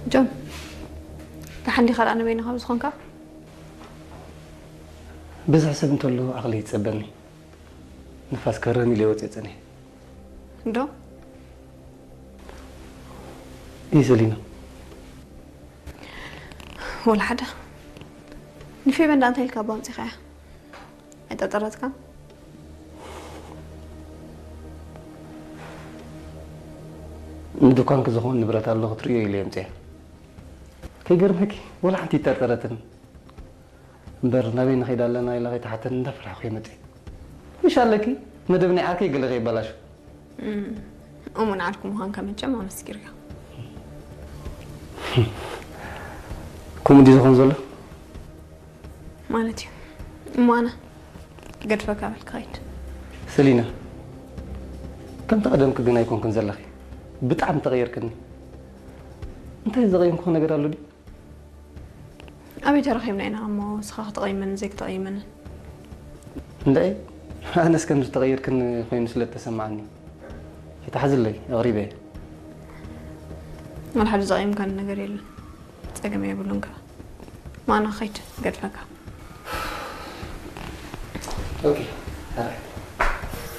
ጆን፣ ደሓን ዲኻ ደኣ ንበይንኻ ብዝኾንካ? ብዝሒ ሰብ እንተሎ ዓቕሊ ይጸበኒ። ንፋስ ከረም ኢለ ወጽየ ጸኒሐ። እንዶ? ይህ ሰሊና። ወላ ሓደ። ንፌበን ደኣ እንታይ ኢልካ ኣባ ኣምጺኻያ? ኣይጠጠረትካን? ንድኳንኪ ዝኸውን ንብረት ኣሎ ክትርእዮ ኢለ የምጽያ። ከይገርመኪ ወላ ሓንቲ ይጠርጠረትን። እምበር ናበይ ንኸይድ ኣለና ኢላ ከይተሓተን እንዳፈራሕኩ እየ መጽየ። ምሽ ኣለኪ መደብ ናይ ዓርከይ ገለ ከይበላሹ። እሙን ዓርኩ ምዃንካ መቸም ኣመስኪርካ። ከምኡ ድዩ ዝኾን ዘሎ? ማለት እዩ። እሞ ኣነ ገድፈካ በል ክኸይድ። ሰሊና፣ ከምቲ ቀደምኪ ግን ኣይኮንክን ዘለኺ። ብጣዕሚ ተቐይርክኒ። እንታይ ዘቐየምኩኺ ነገር ኣሎ ድዩ? ኣበይ ተራኺብና ኢና እሞ ንስኻ ክትቐይመንን ዘይክትቐይመንን? እንድዒ፣ ኣነስ ከም ዝተቐየርክኒ ኮይኑ ስለ እተሰማዓኒ። ኣይትሓዝለይ፣ ኣቕሪበ እየ። ወላ ሓደ ዘቐየምካኒ ነገር የለን። ጸገም የብሉን ከኣ። ማና ኸይድ ገድፈካ። ኦኬ፣ ኣራይ።